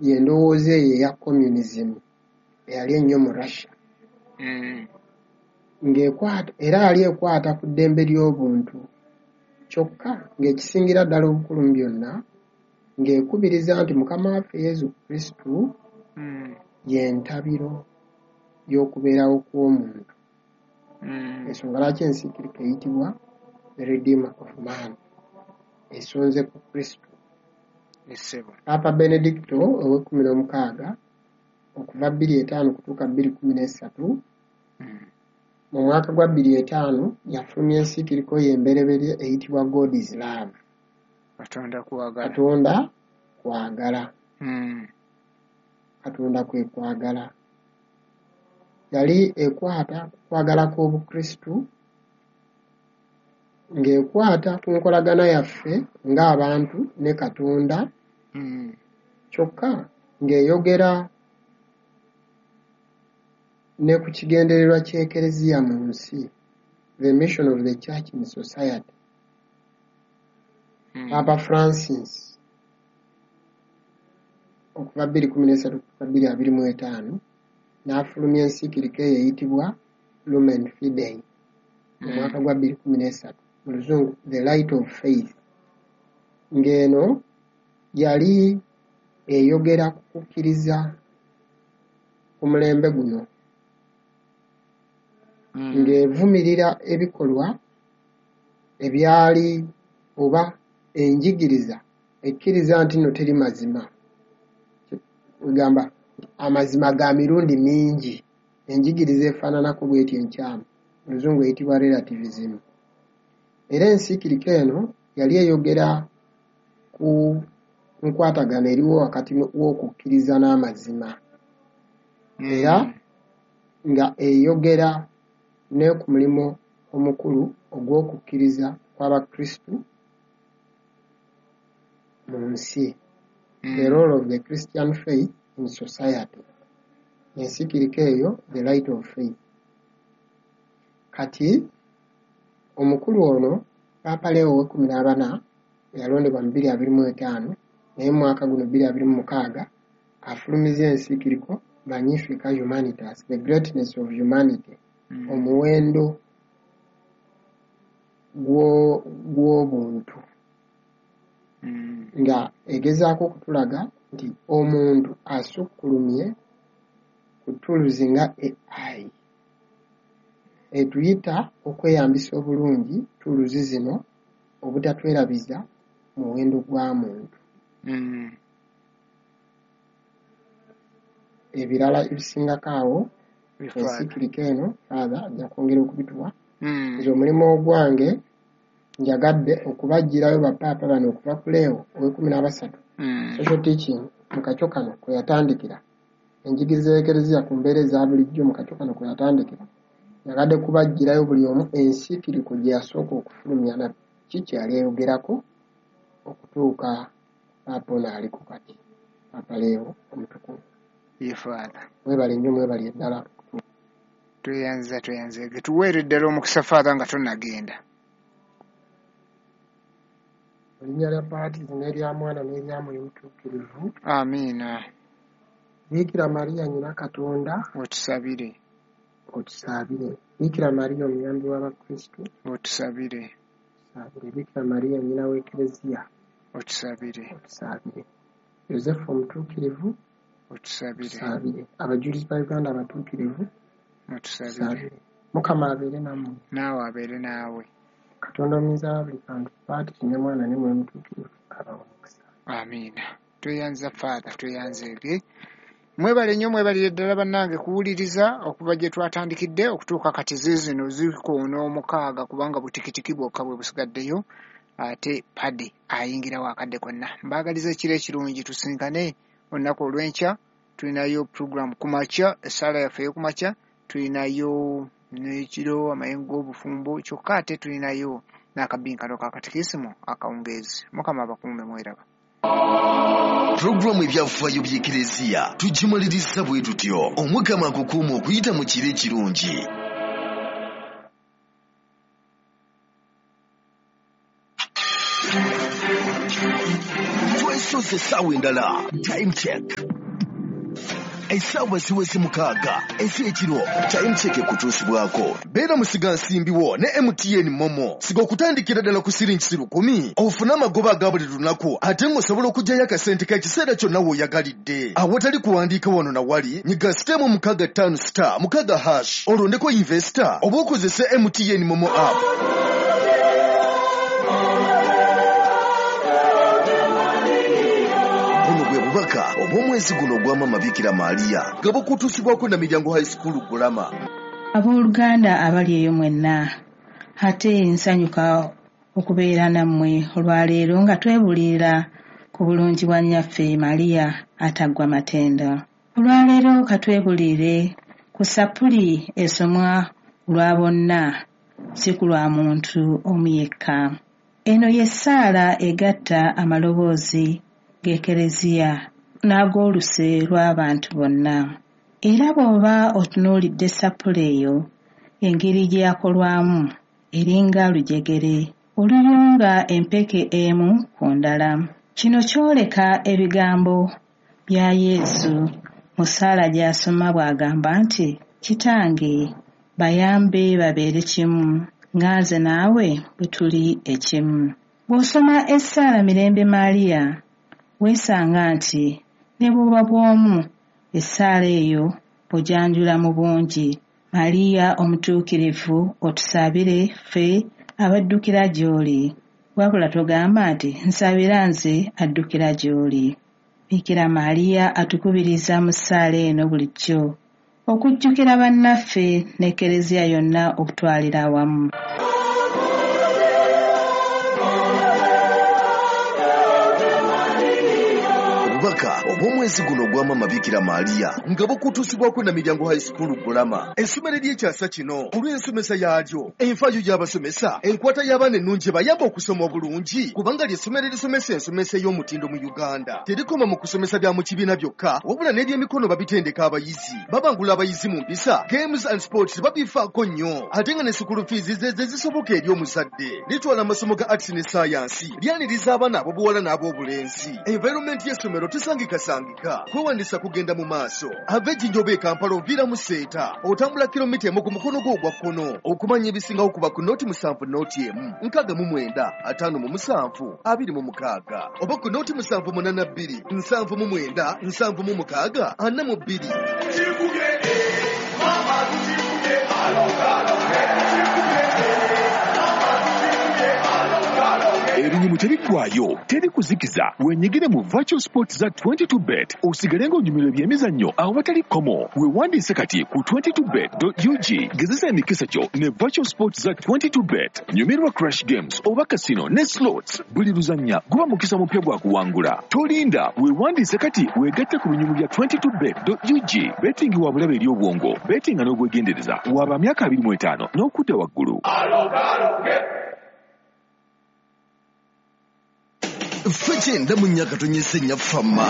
Y'endowooza eyo eya communism eyali ennyo mu Russia. Ng'ekwata era yali ekwata ku ddembe ly'obuntu, kyokka ng'ekisingira ddala obukulu mu byonna ng'ekubiriza nti Mukama waffe Yesu Kristo y'entabiro y'okubeerawo kw'omuntu. Ensonga lwaki ensiikiriko eyitibwa The Redeemer of Man, esonze ku Kristo. Essebo. Paapa Benedicto ow'e16 okuva 2005 kutuuka 2013, mu mwaka gwa 2005 yafulumya ensiikiriko ye embereberye eyitibwa God is Love. Katonda kwagala. Katonda kwagala. Katonda kwe kwagala. Yali ekwata ku kwagala kw'Obukristu, ng'ekwata ku nkolagana yaffe ng'abantu ne Katonda, kyokka ng'eyogera ne ku kigendererwa ky'Ekereziya mu nsi, the mission of the church in society. Papa Francis okuva 2013 kutuuka 2025 n'afulumya ensiikiriko eyo eyitibwa Lumen Fidei mu mwaka gwa 2013, mu Luzungu The Light of Faith, ng'eno yali eyogera ku kukkiriza ku mulembe guno, ng'evumirira ebikolwa ebyali oba enjigiriza ekkiriza nti nno teri mazima, egamba amazima ga mirundi mingi, enjigiriza efaananako bw'etyo enkyamu, mu Luzungu eyitibwa relativism. Era ensiikiriko eno yali eyogera ku nkwatagana eriwo wakati w'okukkiriza n'amazima, era nga eyogera ne ku mulimu omukulu ogw'okukkiriza kw'Abakristu mu nsi, the role of the Christian faith in society, ensiikiriko eyo The Light of Faith. Kati omukulu ono Paapa Leo ow'e14 eyalondebwa mu 2025, naye mu mwaka guno 2026 afulumiza ensiikiriko Magnifica Humanitas, the greatness of humanity, omuwendo gw'obuntu, nga egezaako okutulaga nti omuntu asukkulumye ku tools nga AI, etuyita okweyambisa obulungi tools zino obutatwerabiza muwendo gwa muntu. Ebirala ebisingako awo, ensiikiriko eno Father ajja kwongera okubituwa. Nze omulimu ogwange njagadde okubaggyirayo bapaapa bano okuva ku Leo ow'e13, social teaching mu kakyo kano kwe yatandikira, enjigiriza y'Ekereziya ku mbeera eza bulijjo mu kakyo kano kwe yatandikira. Njagadde kubaggyirayo buli omu ensiikiriko gye yasooka okufulumya na ki kye yali eyogerako okutuuka paapa ono aliko kati, Paapa Leo omutukuvu. Ye Father. Mwebale nnyo, mwebale ddala. Tweyanziza, tweyanzege. Tuweere ddala omukisa Father nga tonnagenda. Mu linnya lya Patri n'erya Mwana n'erya Mwoyo Mutuukirivu. Amiina. Biikira Maria nnyina Katonda, otusabire. Otusaabire. Biikira Maria omuyambi w'Abakristu, otusabire. Otusaabire. Biikira Maria nnyina w'Ekereziya, otusabire. Otusaabire. Yozefu omutuukirivu, otusabire. Otusaabire. Abajulizi ba Uganda abatuukirivu, otusabire. Mukama abeere nammwe. Naawe abeere naawe. Katonda omuyinza wa buli kantu, Patri ne Mwana ne Mwoyo Mutuukirivu abawe omukisa. Amiina. Tweyanza Father, tweyanzeege. Mwebale nnyo, mwebalire ddala bannange kuwuliriza okuva gye twatandikidde okutuuka kati ziizino zikoona 6, kubanga butikitiki bwokka bwe busigaddeyo, ate pade ayingirawo akadde konna. Mbaagaliza ekiro ekirungi, tusinkane olunaku olw'enkya. Tulinayo program ku makya, essaala yaffe ey'okumakya, tulinayo n'ekiro amayengo g'obufumbo, kyokka ate tulinayo n'akabinkano ka katikisimu akawungeezi. Mukama abakuume, mweraba. Pulogulaamu ebyafaayo by'Ekereziya tugimaliriza bwe tutyo. Omukama akukuuma okuyita mu kiro ekirungi. Soze essaawa endala. Time check. Essaawa ziweze 6 ez'ekiro. Time check ekutuusibwako. Beera musigansimbi wo ne MTN Momo. Siga okutandikira ddala ku siringi 10,000 ofune amagoba aga buli lunaku ate ng'osobola okuggyayo akasente k'ekiseera kyonna w'oyagalidde. Awatali kuwandiika wano na wali, nyiga *656 *6# olondeko investor oba okozese MTN Momo app. Bubaka obw'omwezi guno ogwa Maama Bikira Maria nga bukutuusibwako na Miryango High School Gulama. Abooluganda abali eyo mwenna, ate nsanyuka okubeera nammwe olwaleero nga twebuulirira ku bulungi bwa nnyaffe Maria ataggwa matendo. Olwaleero katwebuulirire ku sappuli esomwa lwa bonna, si ku lwa muntu omu yekka. Eno y'essaala egatta amaloboozi g'Ekereziya n'ag'oluse lw'abantu bonna. Era bw'oba otunuulidde sappuli eyo, engeri gye yakolwamu eringa lujegere oluyunga empeke emu ku ndala. Kino kyoleka ebigambo bya Yesu mu ssaala gy'asoma bw'agamba nti, Kitange, bayambe babeere kimu, nga nze naawe bwe tuli ekimu. Bw'osoma essaala Mirembe Maria, weesanga nti ne bw'oba bw'omu essaala eyo ogyanjula mu bungi. Maria omutuukirivu otusabire ffe abaddukira gy'oli. Wabula togamba nti nsabira nze addukira gy'oli. Bikira Maria atukubiriza mu ssaala eno bulijjo okujjukira bannaffe n'Ekereziya yonna okutwalira awamu. Obubaka obw'omwezi guno ogwa Maama Bikira Maria nga bukutuusibwako na Miryango High School Gulama. Essomero ery'ekyasa kino olw'ensomesa yaalyo, enfaayo y'abasomesa, enkwata y'abaana ennungi ebayamba okusoma obulungi, kubanga ly'essomero erisomesa ensomesa ey'omutindo mu Uganda. Terikoma mu kusomesa bya mu kibiina byokka, wabula n'ebyemikono babitendeka abayizi. Babangula abayizi mu mpisa, games and sports babifaako nnyo, ate nga ne school fees ze zisoboka eri omuzadde. Litwala amasomo ga arts ne science, lyaniriza abaana ab'obuwala n'ab'obulenzi. Environment y'essomero tesangikasangika. Kwewandisa kugenda mu maaso. Ava Ejjinja oba e Kampala oviira mu Seeta, otambula kilomita 1 ku mukono gwo ogwa kkono. Okumanya ebisingawo kuba ku 070 1 69 57 26 oba ku 0782 79 76 42. Ebinyumu tebiggwayo, teri kuzikiza. Wenyigire mu virtual sports za 22bet osigale ng'onyumirwa ebyemizannyo awatali kkomo. Weewandiise kati ku 22bet.ug. Gezesa emikisa gyo ne virtual sports za 22bet. Nyumirwa crash games oba casino ne slots. Buli luzannya guba mukisa mupya gwa kuwangula. Tolinda, weewandiise kati weegatte ku binyumu bya 22bet.ug. Betting wa bulabe eri obwongo, bettinga n'obwegendereza. Waba myaka 25 n'okudda waggulu. Ffe kyenda mu nnya katonyese nnyaffe amma.